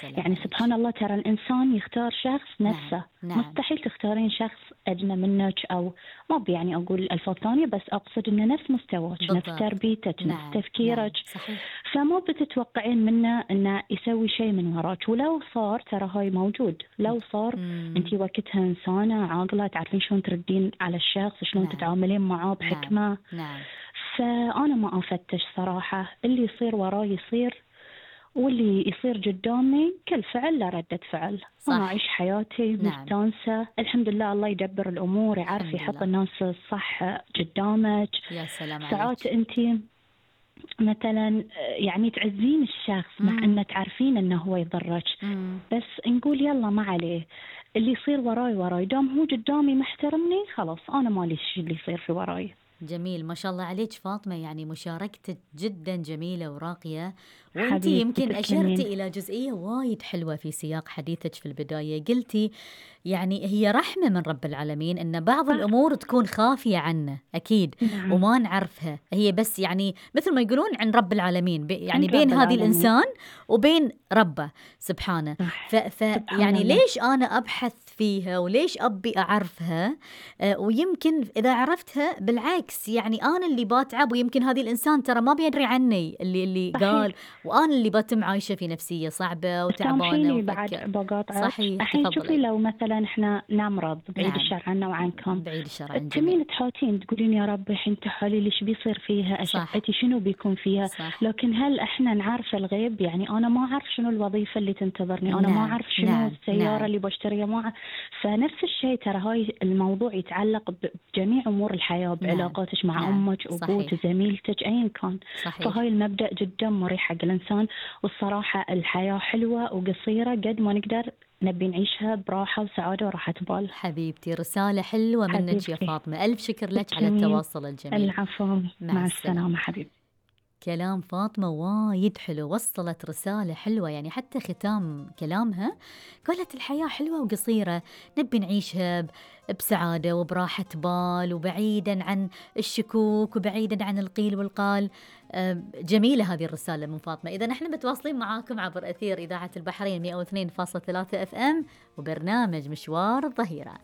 سلام يعني عليك. سبحان الله، ترى الإنسان يختار شخص نعم، نفسه. نعم، مستحيل تختارين شخص أدنى منك، أو ما يعني أقول ألفاظ ثانية، بس أقصد إنه نفس مستواك، نفس بالضبط. تربيتك، نفس نعم، تفكيرك. نعم، صحيح. فما بتتوقعين منه إنه يسوي شيء من وراك، ولو صار ترى هاي موجود. لو صار إمم، أنتي وقتها إنسانة عاقلة، تعرفين شلون تردين على الشخص، شلون نعم، تتعاملين معاه نعم، بحكمة. نعم، فأنا ما أفتش صراحة، اللي يصير وراي يصير، واللي يصير قدامي كل فعل له ردة فعل. أنا صح، أعيش حياتي نعم، مستانسة الحمد لله. الله يدبر الأمور، يعرف الحمد يحط لله. الناس الصح قدامك. يا سلام ساعات عليك. أنتي مثلا يعني تعزين الشخص مع إمم، أنه تعرفين أنه هو يضرك، إمم. بس نقول يلا ما عليه، اللي يصير وراي وراي، دام هو قدامي محترمني خلاص، أنا مالي شي اللي يصير في وراي. جميل، ما شاء الله عليك فاطمة، يعني مشاركتك جدا جميلة وراقية. وانتي حبيبتي يمكن أشرتي تسلمين. إلى جزئية وايد حلوة في سياق حديثك في البداية. قلتي يعني هي رحمة من رب العالمين إن بعض صح. الأمور تكون خافية عنا أكيد نعم. وما نعرفها، هي بس يعني مثل ما يقولون عن رب العالمين، يعني عند بين رب هذه العالمين. الإنسان وبين ربه سبحانه. صح. سبحان يعني الله. ليش أنا أبحث فيها وليش أبي أعرفها؟ ويمكن إذا عرفتها بالعكس يعني أنا اللي باتعب، ويمكن هذه الإنسان ترى ما بيدري عني اللي قال، صحيح. وأنا اللي بتم عايشة في نفسية صعبة وتعبانة سامحيني بعد وفكر. بقاطعك. صحيح، الحين شوفي، تفضلي. لو مثلا احنا نمرض، بعيد نعم، الشر عنا وعنكم، بعيد الشر عن الجميع. تمين تحوتين تقولين يا رب الحين تحالي ليش بيصير فيها، صح، أشعتي شنو بيكون فيها. صح، لكن هل احنا نعرف الغيب؟ يعني أنا ما أعرف شنو الوظيفة اللي تنتظرني، أنا ما نعم، أعرف شنو نعم، السيارة نعم، اللي بشتريها، ما أعرف. فنفس الشيء، ترى هاي الموضوع يتعلق بجميع أمور الحياة، نعم، بعلاقاتك مع نعم، أمك، أبوك، صحيح، زميلتك، أيا كان. صحيح. فهاي المبدأ جدا مريح حق الإنسان. والصراحة الحياة حلوة وقصيرة، قد ما نقدر نبي نعيشها براحة وسعادة وراحة بال. حبيبتي رسالة حلوة منك يا حبيبتي فاطمة، ألف شكر لك على تسلمين. التواصل الجميل. العفو. مع مع السلامة. السلامة حبيبتي. كلام فاطمة وايد حلو، وصلت رسالة حلوة، يعني حتى ختام كلامها قالت الحياة حلوة وقصيرة، نبي نعيشها بسعادة وبراحة بال، وبعيدا عن الشكوك وبعيدا عن القيل والقال. جميلة هذه الرسالة من فاطمة. إذا نحن متواصلين معاكم عبر أثير إذاعة البحرين 102.3 FM وبرنامج مشوار الظهيرة.